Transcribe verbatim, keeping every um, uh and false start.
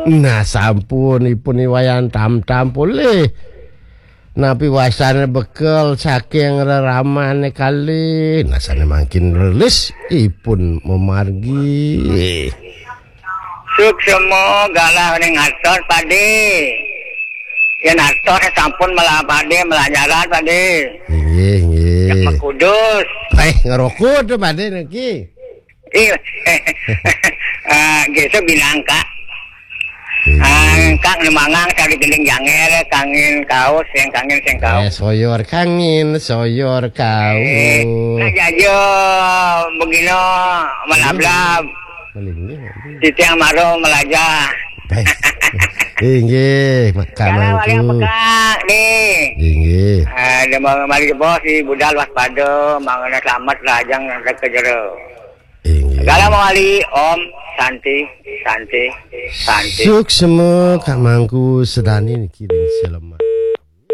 Nah, sampun ipun iwayan tamtam polih. Napi wasane bekel saking reramane kalih. Nah, sane mangkin relis ipun mamargi. Suksma galah ning atos, Pade. Yen atos sampun melah Pade, melah nyarat, Pade. Inggih, inggih. Yak makudus. Eh, ngerokok tuh, Pade, niki. Iya. Ah, gesok bilang, Kak. Inggih. Ah, Kak, nemangang cari gending janger, kangin kaos, yang kangin, sing kaos. Eh, soyor kangin, soyor kaos. Eh, nak jaja, begino, melablab. Malingnya. Titiang maro melajah. Baik. Inggih, Mak-, Kak Kalau Mangku. Wali yang pekak, nih. Inggih. Ah, dia mau mari bos di budal waspada, mangana selamat, lajang, sampai ke jero. Inggih. Kalau mau wali, Om, Santi, Santi, Santi. Suksma, Kak Mangku, sedani niki ring Sleman.